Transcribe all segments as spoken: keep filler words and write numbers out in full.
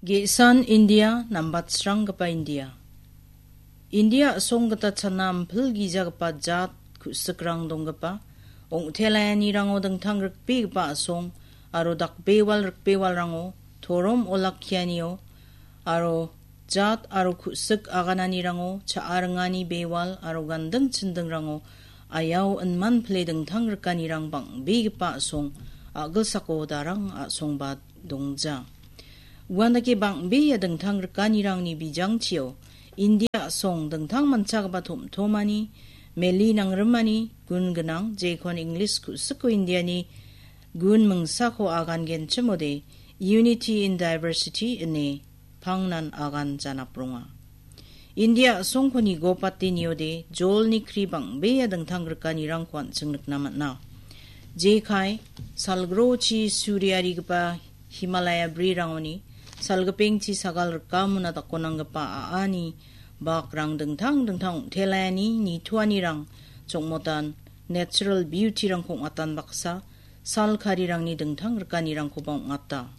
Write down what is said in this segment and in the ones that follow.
Ge·san India, nambatsranggipa India. India a·song gita chana ampil gijagipa jat ku·sikrang donggipa, ong·telaianirango dingtang rikbegipa a·song aro dakbewal rikbewalrango, torom olakkianio aro jat aro ku·sik agananirango, cha·a ringani bewal aro ganding chindingrango ayao inman pile dingtang rikanirang bang·begipa a·song a·gilsako darang a·songba dongja. Uandake bang·bea dingtang rikanirangni bijangchio India a·song dingtang manchagaba tom·tomani, meli nangrimani gun gnang, jekon English ku·siko Indiani gun mingsako agangenchimode Unity in Diversity ine pangnan agan janapronga. India a·songko nigopate niode jolni kri bang·bea dingtang rikanirangko an·ching nikna man·a. Jekai, salgrochi suriarigipa Himalaya brirangoni, salgipengchi sagal rikamona dakonanggipa a·ani bakrang dingtang dingtang ong·telaiani nitoanirang chongmotan natural beauty-rangko ong·atan baksa, sal karirangni dingtang rikanirangkoba ong·ata.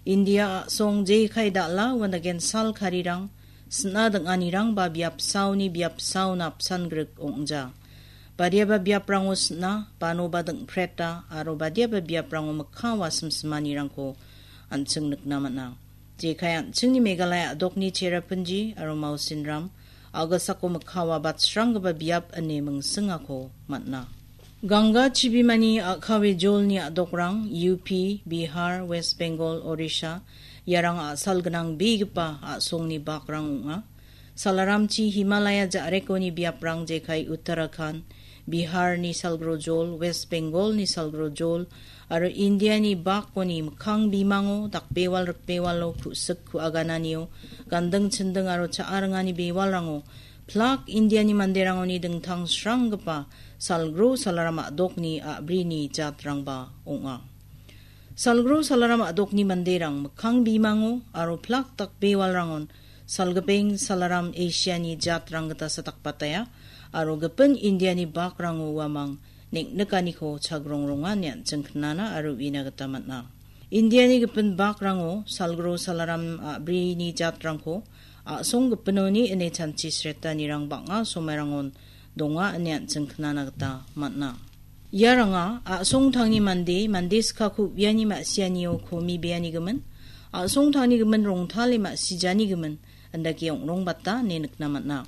India a·song jekai dal·a uandagen sal karirang, sina ding·anirangba biapsaoni biapsaona apsan grik ong·ja. Badiaba biaprango sina, banoba ding·preta, aro badiaba biaprango mikkango wasimsimanirangko an·ching nikna man·a. Jekai an·chingni Meghalaya a·dokni Cherrapunji aro Mawsinram, a·gilsako mikkango batsranggipa biap ine mingsingako man·a. Ganga chibimani a·kawe jolni a·dokrang U P, Bihar, West Bengal, Odisha, iarang a·sal gnang begipa a·songni bakrang ong·a. Salaramchi Himalaya ja·rekoni biaprang jekai Uttarakhand, Biharni salgrojol, West Bengalni salgrojol, aro Indiani bakoni mikkang bimango dakbewal rikbewalo ku·sik ku·agananio, ganding chinding aro cha·a ringani bewalrango, plak Indiani manderangoni dingtang sranggipa salgro salaram a·dokni a·brini jatrangba ong·a. Salgro salaram a·dokni manderang mikkang bimango aro plak dakbewalrangon salgipeng salaram Asiani jatrang gita sadakbataya aro gipin Indiani bakrango uamang neng·nikaniko chagrongronga ine an·ching knana aro uina gita man·a. Indiani gipin bakrango salgro salaram a·brini jatrangko a·song gipinoni ine chanchi sretanirang bang·a somairangon donga ine an·ching knana gita man·a. Iaranga a·songtangni mande, mande skako uiani ma·sianio komi beanigimin, a·songtangni gimin rongtale ma·sijanigimin, indake ong·rongbata ine nikna man·a.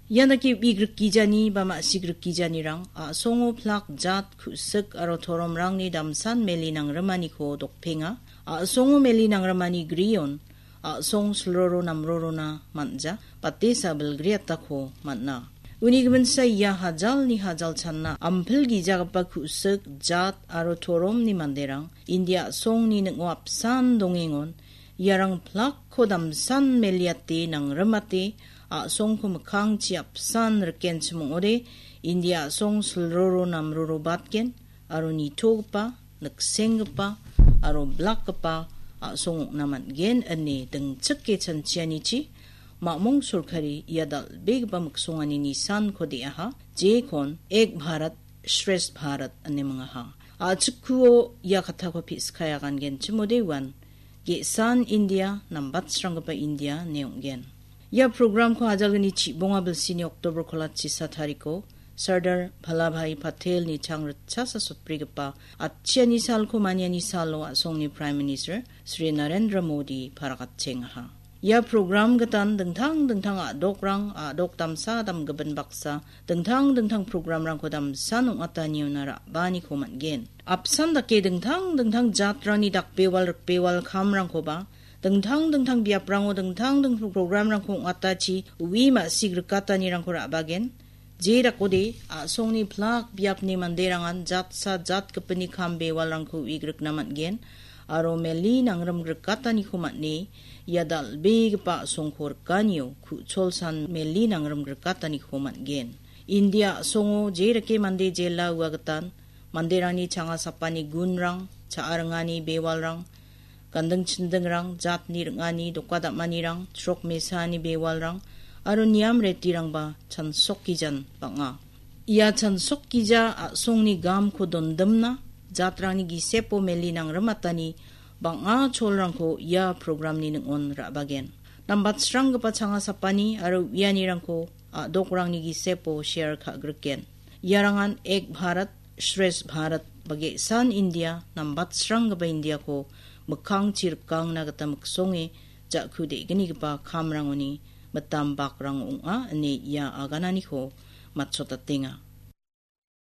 Ian dake uigrikgijani ba ma·sigrikijanirang a·songo plak jat ku·sik aro toromrangni damsan meli nangrimaniko dokpenga. A·songo meli nangrimani grion a·song silroro namrorona man·ja, batesa bilgriatako man·a. Uni giminsa ia hajalni hajal channa ampil gijagipa ku·sik, jat aro toromni manderang India a·songni ning·o apsan dongengon, iarang plakko damsan meliate nangrimate, a·songko mikkangchi apsan rikenchim ong·ode, India a·song silroro namroro batgen, aro nitogipa, niksenggipa, aro blakgipa a·song ong·na man·gen ine dingchike chanchianichi, mamung sorkari ia dal·begipa miksongani nisanko de·aha, jekon Ek Bharat, Shresth Bharat ine mingaha. A·chikkuo ia kattako pe·skai agangenchimode uan, ge·san India, nambatsranggipa India ine ong·gen. Ia programko ajalgni chibonga bilsini October kolachisa tariko Sardar Vallabhbhai Patelni chang ritchasa sotbrigipa atchiani salko maniani salo a·songni Prime Minister Shri Narendra Modi parakatchengaha. Ia program gitan dingtang dingtang a·dokrang, a·dok damsa damgimin baksa, dingtang dingtang programrangko damsan ong·ataniona ra·baaniko man·gen. Apsan dake dingtang dingtang jatrangni dakbewal rikbewal kamrangkoba, dingtang dingtang biaprango dingtang dingtang programrangko ong·atachi ui ma·sik rikatanirangko ra·bagen. Je dakode, a·songni plak biapni manderangan jatsa jatgipinni kam bewalrangko uigrikna man·gen, aro meli nangrim grikataniko man·e, ia dal·begipa a·songko rikanio ku·cholsan meli nangrim grikataniko man·gen. India a·songo jereke mande jela ua gitan, manderangni changa sapani gunrang, cha·a ringani bewalrang, ganding chindingrang, jatni ring·ani, doka dam·anirang, chrok mesani bewalrang, aro niam retirangba chansokgijan bang·a. Ia chansokgija a·songni gamko dondimna, jatrangni gisepo meli nangrimatani Bang·a cholrangko ia programni ning·on ra·bagen. Nambatsranggipa changa sapani aro uianirangko a·dokrangni gisepo share ka·griken. Iarangan Ek Bharat, Shresth Bharat ba ge·san India, nambatsranggipa Indiako mikkangchi rikangna gita miksonge ja·ku de·gnigipa kamrangoni mitam bakrang ong·a ine ia agananiko matchotatenga.